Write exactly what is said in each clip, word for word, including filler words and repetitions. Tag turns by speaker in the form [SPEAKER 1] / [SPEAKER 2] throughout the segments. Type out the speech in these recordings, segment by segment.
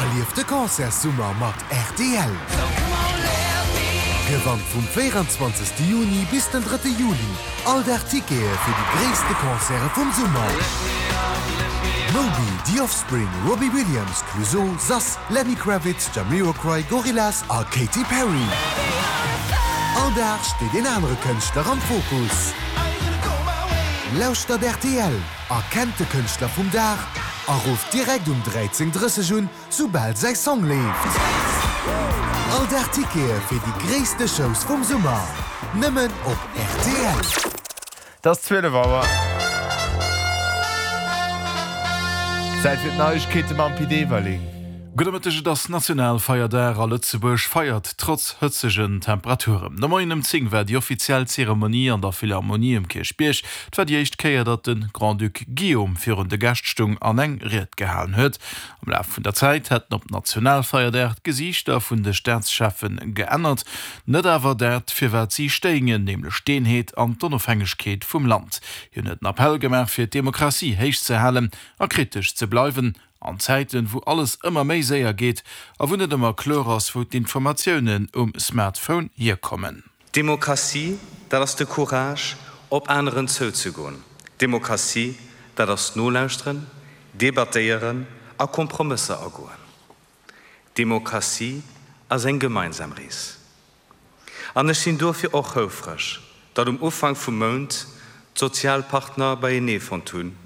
[SPEAKER 1] Erlieft de Concertssummer mat rtl! Gewannt vum véieranzwanzegste Juni bis den drëtte Juli all Dag Tickete fir déi gréisste Concerte vum Summer! Moby, The Offspring, Robbie Williams, Clouseau, Sass, Lenny Kravitz, Jamiroquai, Gorillaz a Katy Perry. All Dag steet een anere Kënschtler am Fokus. Lauschtert rtl, erkennt de Kënschtler vum Dag a rufft direkt um dräizéng drësseg un, soubal säi Song leeft. All Dag Tickete fir déi gréisste Shows vum Summer, nëmmen op rtl.
[SPEAKER 2] Et ass zwielef Auer. Zäit fir d'Neiegkeete mam Pit Everling.
[SPEAKER 3] Gudde Mëtteg, Et ass Nationalfeierdag a Lëtzebuerg feiert trotz hëtzegen Temperaturen. De Moien ëm zéng war déi offiziell Zeremonie an der Philharmonie um Kierchbierg. Et war déi éischt Kéier, datt de Grand-Duc Guillaume virun de Gäscht stung an eng Ried gehalen huet. Am Laf vun der Zäit hätten op Nationalfeierdag d'Gesiichter vun de Staatscheffe geännert, net awer dat, fir wat si stéingen, nämlech d'Eenheet an d'Onofhängegkeet vum Land. Hien huet en Appell gemaach, fir d'Demokratie héich ze halen a kritesch ze bleiwen. An Zäiten, wou alles ëmmer méi séier geet a wou net ëmmer kloer ass, wou d'Informatiounen um Smartphone hierkommen.
[SPEAKER 4] Demokratie, dat ass de Courage, op aneren zouzegoen. Demokratie, dat ass nolauschteren, debattéieren a Kompromësser agoen. Demokratie ass eng gemeinsam Rees. An ech sinn dofir och houfreg, datt um Ufank vum Mount d'Sozialpartner beienee fonnt hunn,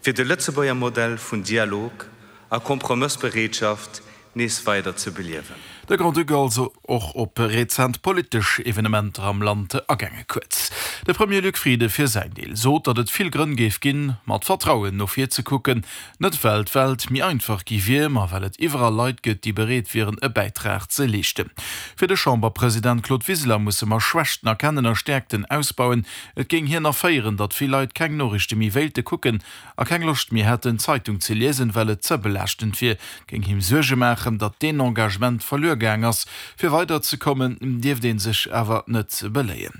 [SPEAKER 4] fir de Lëtzebuerger Modell vun Dialog a Kompromëssbereetschaft nees weider ze beliewen.
[SPEAKER 3] De Grand-Duc also och op rezent politesch Evenementer am Land agaange. Kuerz, de Premier Luc Frieden fir säin Deel sot, datt et vill Grënn géif ginn, mat Vertrauen no vir ze kucken, net well d'Welt méi einfach gi wier, ma well et iwwerall Leit gëtt, déi bereet wieren, e Bäitrag ze leeschten. Fir de Chamberpresident Claude Wiseler musse mer Schwächten erkennen a Stäerkten ausbauen. Et géing hien erféieren, datt vill Leit keng Noriichte méi wéilte kucken a keng Loscht méi hätten, Zeitung ze liesen, well et ze belaaschtend wier. Géing him Suerge maachen, datt deen Engagement verluer gaang ass. Fir weider ze kommen, dierft ee sech awer net beléien.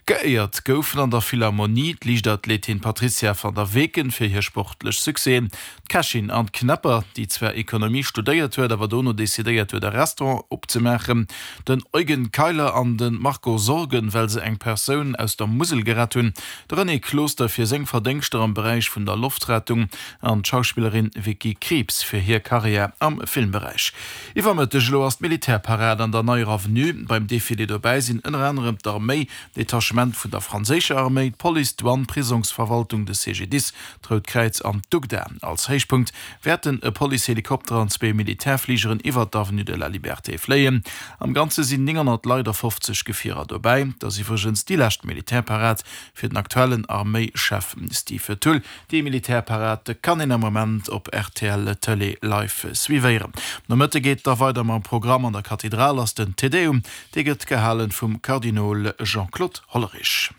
[SPEAKER 3] Geéiert goufen an der Philharmonie d'Liichtathletin Patrizia van der Weken fir hir sportlech Succèsen, d'Kächin Anne Knepper, déi zwar Ekonomie studéiert huet, awer dono decidéiert huet e Restaurant opzemaachen, den Eugen Keiler an de Marco Sorgen, well se eng Persoun aus der Musel gerett hunn, de René Closter fir seng Verdéngschter am Beräich vun der Loftrettung an d'Schauspillerin Vicky Krieps fir hir Karriär am Filmberäich. Iwwer Mëtteg elo ass d'Militärparad an der Neier Avenue. Beim Defilé dobäi sinn ënner anerem d'Arméi, Detachement vun der franséischer Arméi, d'Police, d'Douane, d'Prisongsverwaltung, de C G D I S, d'Rout Kräiz an d'UGDA. Als Héichpunkt wäerten e Policehelikopter an zwee Militärfligeren iwwert d'Avenue de la Liberté fléien. Am Ganze sinn nénghonnert Leit a fofzeg Gefierer dobäi. Et ass iwwregens déi lescht Militärparad fir den aktuellen Arméischef Steve Thull. Déi Militärparad kann een am Moment op R T L Tëlee live suivéieren. Nomëtte geet da weider mam Programm. An der Kathedral ass den Te Deum, dee gëtt gehalen vum Kardinol Jean-Claude Hollerich.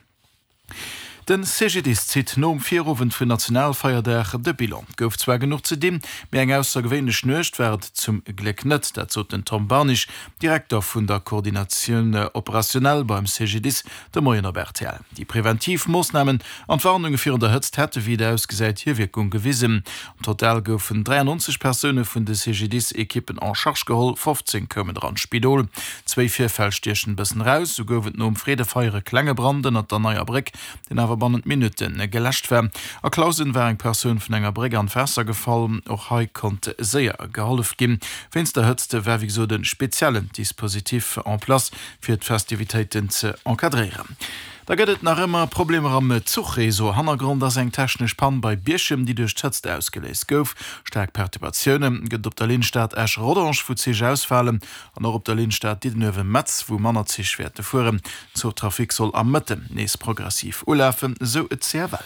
[SPEAKER 3] Den C G D I S zitt nom Virowend vun Nationalfeierdag de Bilan. Gouf zwar genuch ze dinn, mee eng aussergewéinlech Nuecht war et zum Gléck net, dat sot den Tom Barnig, Direkter vun der Coordinatioun opérationnelle beim C G D I S, de Moien op R T L. Déi preventiv Moossnamen an d'Warnunge virun der Hëtzt hätte wéi et ausgesäit hir Wierkung gewisen. Am Total goufen dräiannonzeg Persoune vun de C G D I S-Ekippen en charge geholl, fofzéng koumen der an d'Spidol. Zwéi Virfäll stiechen e bëssen eraus, Sou gouf et nom Freedefeier e klenge Brand ënnert der Neier Bréck, deen awer bannent Minutte geläscht war. A Clausen war eng Persoun vun enger Bréck an d'Waasser gefall. Och hei konnt séier gehollef ginn. Wéinst der Hëtzt war wéi gesot e speziellen Dispositif en place, fir d'Festivitéiten ze encadréieren. Da gëtt et nach ëmmer Problemer am Zuchreseau. Hannergrond ass eng technesch Pann bei Bierchem, déi duerch d'Hëtzt ausgeléist gouf. Staark Perturbatioune gëtt et op der Linn Stad-Esch-Rodange, wou Zich ausfalen, an och op der Linn Stad-Diddenuewen-Metz, wou manner Zich wäerte fueren. Zuchtrafic soll am Mëtten nees progressiv ulafen, sou d'C F L.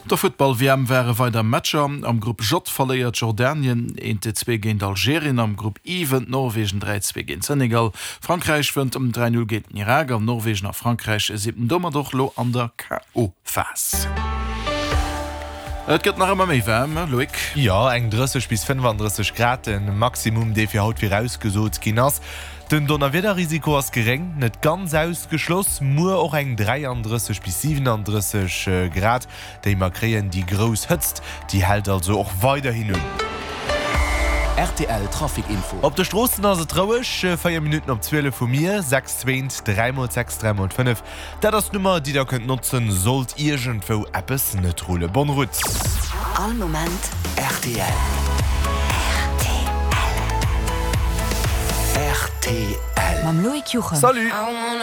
[SPEAKER 3] Op der Futtball-W M ware weider Matcher. Am Grupp J verléiert Jordanien eent zwee géint Algerien. Am Grupp I wënnt Norwegen dräi zwee géint Senegal. Frankräich wënnt ëm dräi null géint den Irak an Norwegen a Frankräich sinn domat och lo an der K O. Phas. Et gëtt nach ëmmer méi waarm, Loïc.
[SPEAKER 2] Jo, eng drësseg bis fënnefandrësseg Grad, de Maximum, dee fir haut virausgesot ginn ass. Den Donnerwiederrisiko ass geréng, net ganz ausgeschloss. Muer och eng dräiandrësseg bis siwenandrësseg Grad, déi mer kréien. Déi grouss Hëtzt, déi hält also och weiderhin un.
[SPEAKER 1] Rtl Trafic Info.
[SPEAKER 2] Op de Stroossen ass et roueg, véier Minutten op zwielef hu mir, sechs zwéint, dräi mol sechs, dräi mol fënnef. Dat ass d'Nummer, déi der kënnt notzen, sollt iergendwou eppes net rullen. Bonne route!
[SPEAKER 5] All Moment
[SPEAKER 1] rtl.
[SPEAKER 5] Rtl.
[SPEAKER 1] Rtl.
[SPEAKER 5] Mam Loïc Juchem.
[SPEAKER 2] Salut!